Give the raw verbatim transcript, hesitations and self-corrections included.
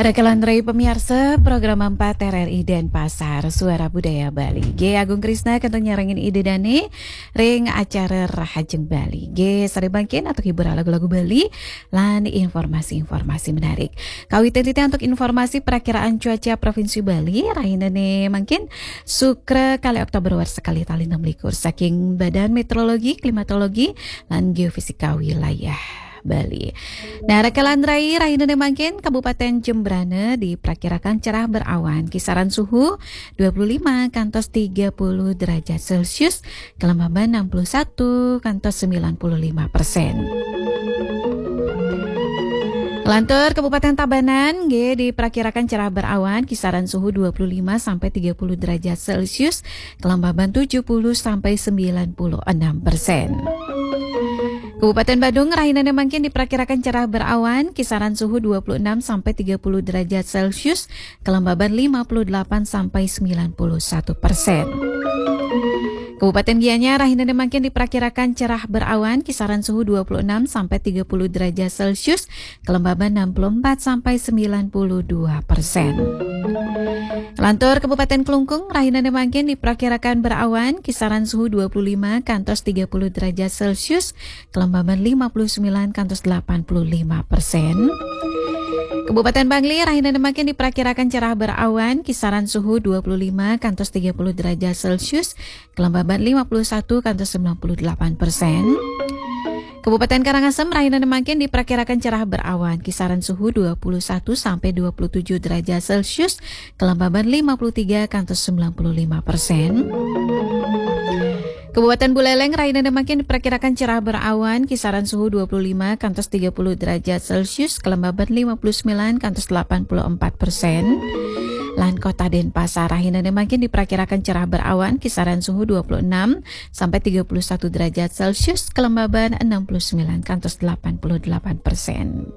Rakalandrai pamiarsa program empat R R I Denpasar, Suara Budaya Bali. G Agung Krisna kantun nyarengin Ida Dane ring acara Rahajeng Bali. G sare mangkin antuk hiburan lagu-lagu Bali lan informasi-informasi menarik. Kawitin titi antuk informasi prakiraan cuaca Provinsi Bali, rahinane mangkin Sukra kali Oktober warsa kali tali enam likur saking Badan Meteorologi, Klimatologi, lan Geofisika Wilayah Bali. Nah, rakalandrai rahinane mangkin Kabupaten Jembrana diprakirakan cerah berawan, kisaran suhu dua puluh lima kantos tiga puluh derajat Celcius, kelembaban enam puluh satu kantos sembilan puluh lima persen. Lantur Kabupaten Tabanan nggih diprakirakan cerah berawan, kisaran suhu dua puluh lima sampai tiga puluh derajat Celcius, kelembaban tujuh puluh sampai sembilan puluh enam persen. Kabupaten Badung rahinane mangkin diprakirakan cerah berawan, kisaran suhu dua puluh enam sampai tiga puluh derajat Celcius, kelembaban lima puluh delapan sampai sembilan puluh satu persen. Kabupaten Gianyar rahinane mangkin diprakirakan cerah berawan, kisaran suhu dua puluh enam sampai tiga puluh derajat Celcius, kelembaban enam puluh empat sampai sembilan puluh dua persen. Lantur Kabupaten Klungkung rahinane mangkin diprakirakan berawan, kisaran suhu dua puluh lima kantos tiga puluh derajat Celcius, kelembaban lima puluh sembilan kantos delapan puluh lima persen. Kabupaten Bangli rahinane mangkin diprakirakan cerah berawan, kisaran suhu dua puluh lima kantos tiga puluh derajat Celcius, kelembaban lima puluh satu kantos sembilan puluh delapan persen. Kabupaten Karangasem rahinane mangkin diprakirakan cerah berawan, kisaran suhu dua puluh satu sampai dua puluh tujuh derajat Celcius, kelembaban lima puluh tiga kantos sembilan puluh lima persen. Kabupaten Buleleng rahinane mangkin diperkirakan cerah berawan, kisaran suhu dua puluh lima kantos tiga puluh derajat Celcius, kelembaban lima puluh sembilan kantos delapan puluh empat persen. Lan Kota Denpasar rahinane mangkin diperkirakan cerah berawan, kisaran suhu dua puluh enam sampai tiga puluh satu derajat Celcius, kelembaban enam puluh sembilan kantos delapan puluh delapan persen.